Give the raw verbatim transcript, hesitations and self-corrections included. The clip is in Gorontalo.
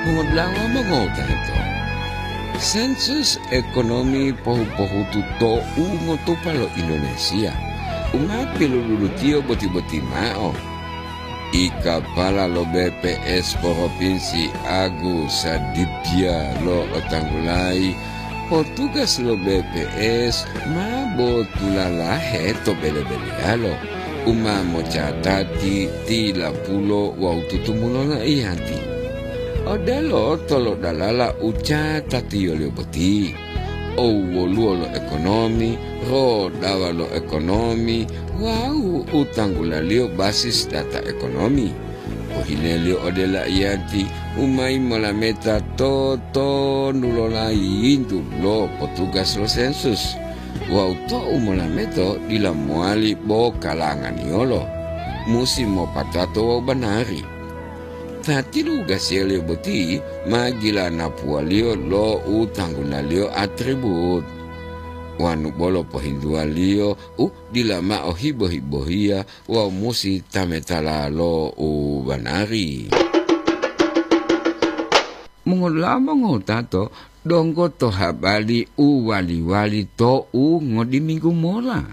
Mongodula'a mongowutato, sensus ekonomi pohu-pohutu to u ngotupa lo Indonesia u ma piluludutiyo boti-boti mao. I kapala lo B P S Propinsi Agus Sadibia lo'otanggulayi, potugas lo B P S ma botulalahe to bele-beleyalo u ma mocatati tilapulo wawu tutumulo loiyati. Odelo tolodalala u catatiyoliyo boti, owwoluwo lo ekonomi, rodawa lo ekonomi, wawu u tanggulaliyo basis data ekonomi. Pohileliyo ode laiyati u mayi molameta to tonu lo layintu lo potugas lo sensus, wawu tou molameto dila mowali bo kalanganiyolo, musi mopatato wawu banari. Ta tilugasiyaliyo boti ma gilanapuwaliyo lo u tanggunaliyo atribut, wanu bolo pohintuwaliyo u dila mao hibo-hibohiya wawu musi tametala lo u banari. Mongolamo ngotato donggo to habari u wali-wali to u ngodiminggu mola.